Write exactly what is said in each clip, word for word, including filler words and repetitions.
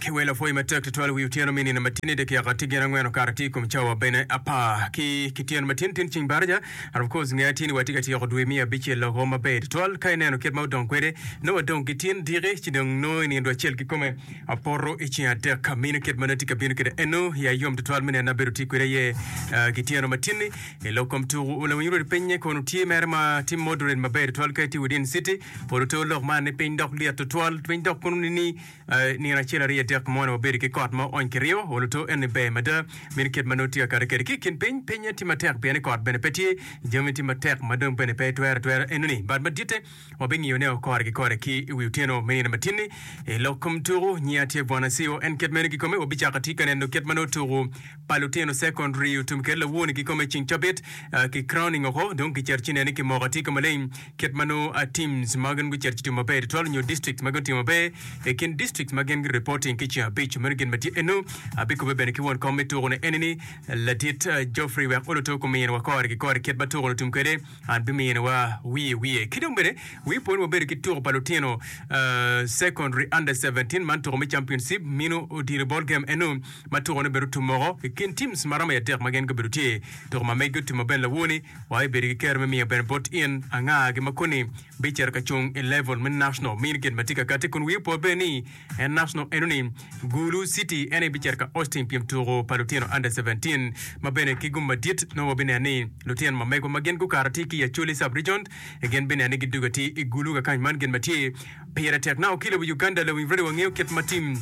Ki wel apwoyi matek tutwal wi otyeno me nino matini dakika tye gin angwen okato tye i kom cawa bene apar ki kityeno matin tin ceng baraja. And of course nge atir ni watye ka tyeko dwe me abicel loko maber tutwal ka ineno kit ma odong kwede nongo wadong ki tin diki ci dong nongo i nino acel kikome apoto i ceng adek mino kit ma nongo tye ka bino kwede eno ya yom tutwal me neno abedo tye kwede aye uh, kityeno matin-ni i lok kom tuku lawiny rwodi pinye kono tye mere ma tye moderate maber tutwal ka itye within city polo to lok man ni piny dok lyet tutwal piny dok kono ni ni uh, nino acel aryo adek mo wabedo ki kot ma oony kiryo olo to en ni ber mada mino kit ma nongo tye ka kati kwede ki i kin piny pinye tye matek pien ni kot bene pe tye jami tye matek ma dong bene pe twero twero enoni but maditte wabingiyo ne kore ki kore ki i wi otyeno me nino matin-ni i lok kom tuku nyinga tye bwana CEO en kit meno kikome wabicako tye ka neno kit ma nongo tuku pa lutino secondary otum kede lawoni kikome ceng cabit uh, ki crowning oko dong kicito ci nene kimoko tye ka maleng kit ma nongo uh, teams ma gin gucito ci timo maber tutwal nyo districts ma gin otimo maber i kin districts ma gin reporting ki ceng abic meno gin ma tye eno abikube bene ki won kom me tuku ni enini ladit uh, Geoffrey wek oluto kumino wa kore ki kore kit ma tuku otum kwede an bimino wa wiye wiye ki dong bene wi pwony wabedo ki tuku pa lutino uh, secondary under seventeen man tuku me championship mino odilo ball game eno ma tuku ne bedo tumoko i kin teams maromo i adek ma gin gubedo tye tuku ma megi otimo bene lawoni wa ibedo ki kero me miyo bene bot in anga gi ma koni bicito ka cung i level me national mino gin ma tye ka kati kun wiyi opo bene ni en national eno ni Gulu City en aye bicito ka hosting pyem tuku pa lutino under seventeen ma bene ki gum madit nongo wabineno ni lutino ma megwa ma gin gukato tye ki i Acholi sub region gin bineno ni gidugo tye i Gulu kakany man gin ma tye pire tek na ki lobo Uganda lawiny radio wangeyo kit ma tim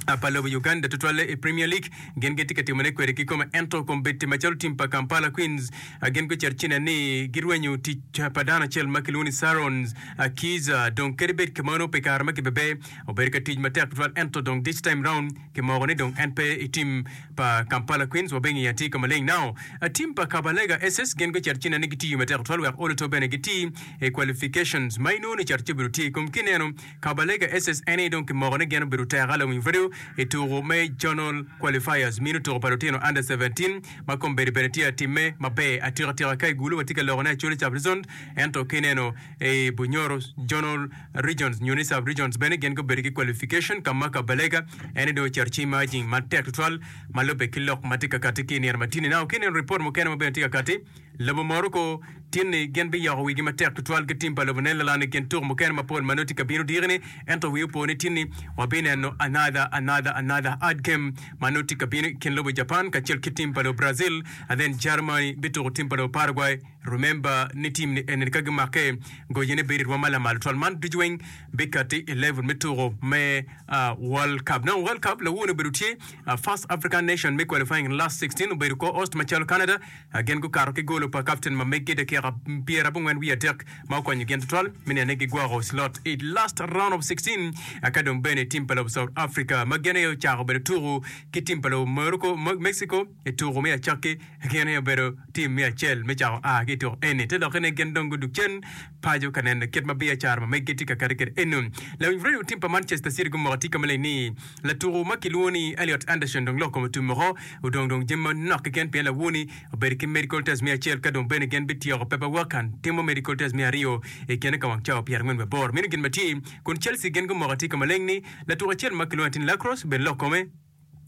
pa lobo Uganda tutwalle i Premier League gin gitye ka timone kwede kikome ento kombeddi macalo tim pa Kampala Queens gin gucito ci nen ni girwenyo tic pa dano acel ma kilwongo ni Sarons Kiza dong kadi bed kimono pi kare ma kibebe obedo ka tic matek tutwal ento dong this time round kimoko ni dong en pe i tim pa Kampala Queens wabingiyo atir ka maleng. Now tim pa Kabalega S S gin gucito ci nen ni gitiyo matek tutwal wek olo to bene giti i qualifications ma inongo ni cito ci obedo tye kom kineno Kabalega S S en aye dong kimoko ni gin obedo teka lawiny radio i tuku me zonal qualifiers mino tuku pa lutino under seventeen ma kombeddi bene tye atimme maber atikatika ka i Gulu watye ka loko ne Acholi sub region ento kineno i Bunyoro zonal regions nyo ni sub regions bene gin gubedo ki qualification ka ma Kabalega en dong ocito ci emerging matek tutwal ma lubbe ki lok ma tye ka kati ki i nino matini. Now kineno report mukene ma bene tye ka kati lobo Morocco tinni gin biyoko wigi matek tutwal ki tim pa lobo Netherland i kin tuku mukene mapol ma nongo tye ka bino diki-ni ento wi opo ni tinni wabineno another another another hard game ma nongo tye ka bino i kin lobo Japan kacel ki tim pa lobo Brazil and then Germany bituko tim pa lobo Paraguay. Remember ni tim ni eni ka gimake goyene bedo i rwom ma lamal tutwal man ducu weng bikati i level me tuko me uh, World Cup. Now World Cup lawoni obedo tye uh, first African nation me qualifying in last sixteen obedo co-host macalo Canada uh, gin gukato ki golo pa captain ma megi dakika pyera abongwen wiye adek ma okonyo gin tutwal me neno ni gigwoko slot i last round of sixteen uh, ka dong bene tim pa lobo South Africa ma gin aye ocako bedo tuko ki tim pa lobo Morocco, Mexico i tuko me acakki gin aye obedo tim me acel me cako a ki i tuko eni te lokke ni gin dong gudug cen paco ka neno kit ma biacara ma megi tye ka kati kwede eno. Lawiny radio tim pa Manchester City gumoko tye ka maleng ni latuko ma kilwongo ni Elliot Anderson dong lok kome otum oko odong dong jami manok keken pien lawoni obedo ki medical test me acel ka dong bene gin bityeko paperwork and timo medical test me aryo i kine ka wang cawa pyerangwen wiye aboro meno gin ma tye kun Chelsea gin gumoko tye ka maleng ni latuko acel ma kilwongo ni Lacrosse bene lok kome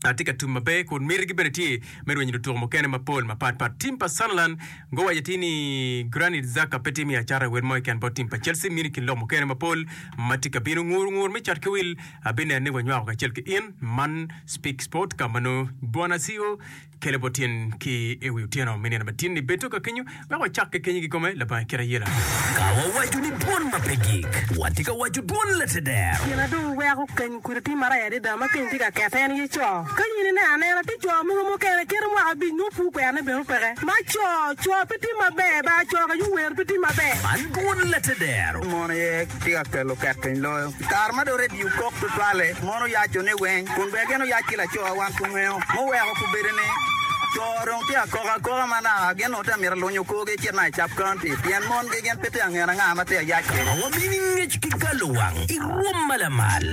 atye ka tum maber kun mitigi bene tye me rwenyo lutuko mukene mapol mapatpat. Tim pa Sunderland guwaco atir ni Granit Xhaka pe tye me acata i wel mo keken bot tim pa Chelsea mini kin lok mukene mapol ma tye ka bino ngur ngur me cat ki wil abineno ni wanywako kacel ki in man Speak Sport ka ma nongo Bwana C E O kelo bot tyen ki i wi otyeno me nino matin ni bedo ka kenyo wek wacak ki kenyo kikome labongo kit ayela. Ka wawaco ni dwon ma pe gik, watye ka waco dwon lateder. Gin na dong weko keny kudi tye marac adada ma keny tye ka kete en aye co. Ka in ineno anena tye co mogo mukene kite mwaka abic nongo pur kwerone bene peke. Ma co, co pe tye maber ba co ka yuwer pe tye maber. Man dwon lateder. Mon aye tye ka kelo ket piny loyo. I kare ma dong redio kok tutwalle, mon oyaco ni weng, kun bene gin oyac ki laco wan pe ngeyo. Muweko kubedo ni co dong tye akoka akoka ma naka gin onongo tye mito lunyo korgi cit na i sub county pien mongi gin pe tye angena nga ma tye ayac kwede. Wamini ngec ki galo wang i rwom ma lamal.